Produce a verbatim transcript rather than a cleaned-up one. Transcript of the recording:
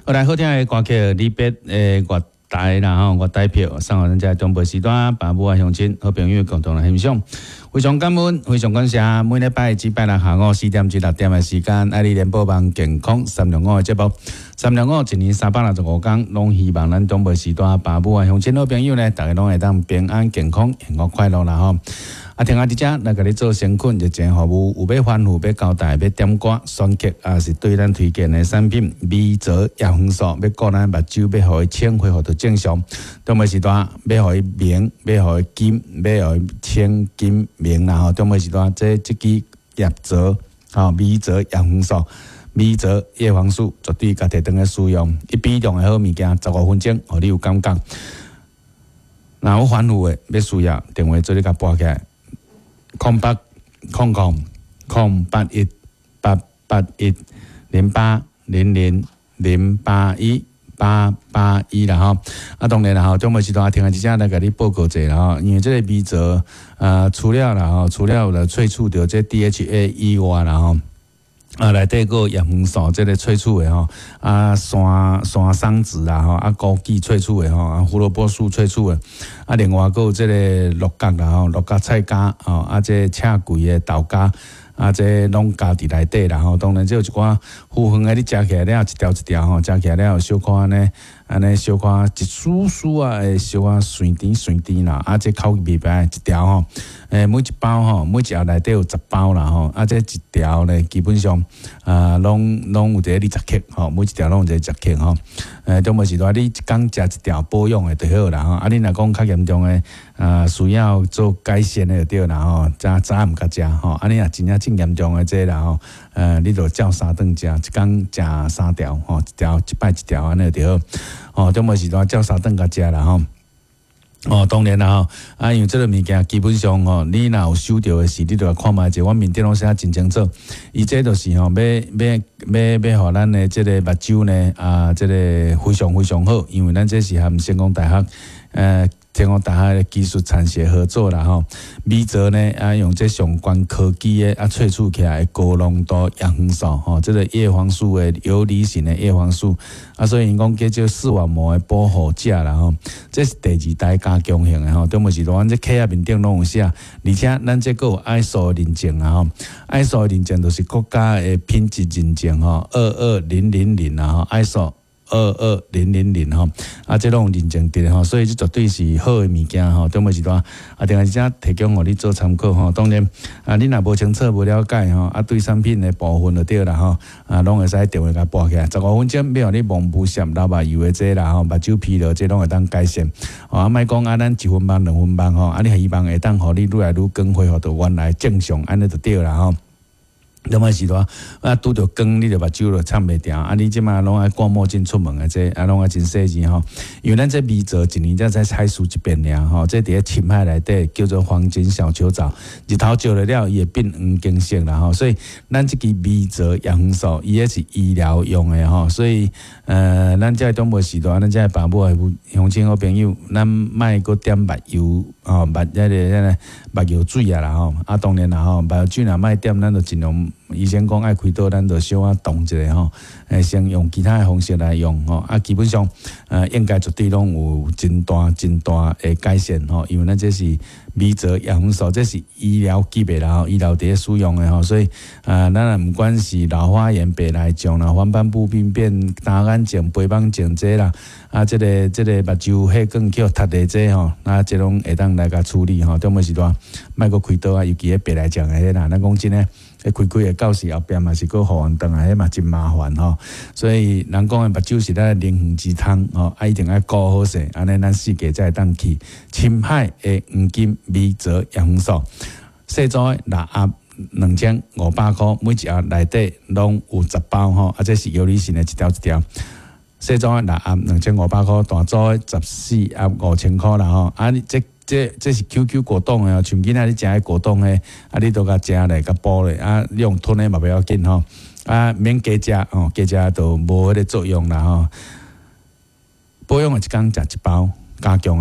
好來，好聽的歌曲，離別的月台啦吼，月台票送予咱遮中部時段爸母啊鄉親好朋友共同來欣賞。非常感恩，非常感謝，每禮拜只拜六下午四點至六點的時間，愛你聯播網健康三六五的節目，三六五一年三百六十五工，攏希望咱中部時段爸母啊鄉親好朋友呢，逐家攏會當平安健康、幸福快樂啦吼。啊，聽下佇遮來共你做誠懇熱情服務，有欲吩咐、欲交代、欲點歌、選曲，抑是對咱推薦的產品，微澤葉黃素，欲顧咱目睭，欲予伊清恢復到正常。中晡時段欲予伊明，欲予伊金，欲予伊清金明啦吼。中晡時段這這支葉澤吼，微澤葉黃素，微澤葉黃素，絕對家己當咧使用，一比兩的好物件，十五分鐘，予你有感覺。若有吩咐的，欲需要電話做你共撥起來。空八空空空八一八八一零八零零零八一八八一啦吼，啊當然啦吼，中晡時段聽下這隻來共你報告者啦吼，因為這個微澤啊，除了啦吼，除了有來萃取著這 D H A 以外啦吼，啊，內底閣葉黃素這個萃取的吼，啊山山桑子啦吼，啊枸杞萃取的吼，啊胡蘿蔔素萃取的，啊另外閣有這個鹿角啦吼，鹿角菜膠吼，啊這赤桂的豆莢，啊這攏加佇內底啦吼。當然這有一寡糊粉的，你食起來了一條一條吼，食起來了小可按呢，按呢小可一絲絲啊，會小可酸甜酸甜啦。啊這口味袂歹，一條吼，欸每一包吼，每一盒內底有十包啦吼。啊這一條咧，基本上啊攏攏有一個二十克吼，每一條攏有一個十克吼。欸，中晡時段你一工食一條保養的就好啦吼。啊，你若講較嚴重的，啊需要做改善的就對啦吼，早早暗共食吼。啊，你若真正真嚴重的這啦吼，呃，你就照三頓食，一工食三條吼，一條一擺一條按呢就好。哦，中晡時段照三頓共食啦吼。哦，當然啦吼，啊，因為這個物件基本上吼，你若有收著的時，你就來看覓者，阮面頂攏寫真清楚。伊這就是吼，欲欲欲欲予咱的這個目睭呢，啊，這個非常非常好，因為咱這是和成功大學，呃，成功大學的技術產學合作啦吼。微澤呢，啊，用這上懸科技的啊萃取起來的高濃度葉黃素吼，這個葉黃素的游離型的葉黃素，啊，所以𪜶講叫做視網膜的保護者啦吼。這是第二代加強型的吼，中晡時阮這殼仔面頂攏有寫，而且咱這閣有 I S O 認證啊吼，I S O 認證就是國家的品質認證吼，二二零零零啊吼，I S O 二二零零零吼，啊，這攏有認證佇吼，所以這絕對是好的物件吼。中晡時段啊，定係遮提供予你做參考吼。當然啊，你若無清楚、無了解吼，啊，對產品的部分就對啦吼，啊，攏會使電話共撥起來，十五分鐘欲予你蒙霧閃流目油的這啦吼，目睭疲勞這攏會當改善。哦，啊，莫講啊，咱一分望兩分望吼，啊，你希望會當予你愈來愈光恢復到原來正常，按呢就對啦吼。中晡時段啊，拄著光，你就目睭就撐袂牢。啊，你這馬攏愛掛墨鏡出門的這，啊，攏愛真細膩吼。因為咱這微澤一年才才採收一遍爾吼，這佇咧深海內底叫做黃金小球藻，日頭照落了，伊會變黃金色啦吼。所以咱這支微澤葉黃素，伊彼是醫療用的吼。所以呃，咱這中晡時段，咱這爸母的鄉親好朋友，咱莫閣點目油吼，目彼個彼個目藥水啊啦吼。啊，當然啦吼，目藥水若莫點，咱就盡量。醫生講愛開刀，咱就小可動一下吼，欸，先用其他的方式來用吼，啊，基本上呃，應該絕對攏有真大真大的改善吼，因為咱這是微澤葉黃素，這是醫療級的啦吼，醫療佇咧使用的吼，所以啊，咱若毋管是老花眼、白內障啦、黃斑部病變、單眼症、白網症這啦，啊，這個這個目睭血管去予塞的這吼，啊，這攏會當來共處理吼。中晡時段莫閣開刀啊，尤其彼白內障的彼啦，咱講真的。彼開開會到時後壁嘛是閣復原轉來，彼嘛真麻煩吼。所以人講的目睭是咱靈魂之窗吼，啊一定愛顧好勢，按呢咱四界才會當去。深海的黃金微澤葉黃素，細組的六盒兩千五百箍，每一盒內底攏有十包吼，啊這是游離型的一條一條。細組的六盒兩千五百箍，大組的十四盒五千箍啦吼，啊這。這這是 Q Q 果凍的哦，像囡仔你食彼果凍的，啊，你都共食咧，共補咧，啊，你用吞的嘛袂要緊吼，啊，免加食吼，加食就無彼個作用啦吼。保養的一工食一包，加強的。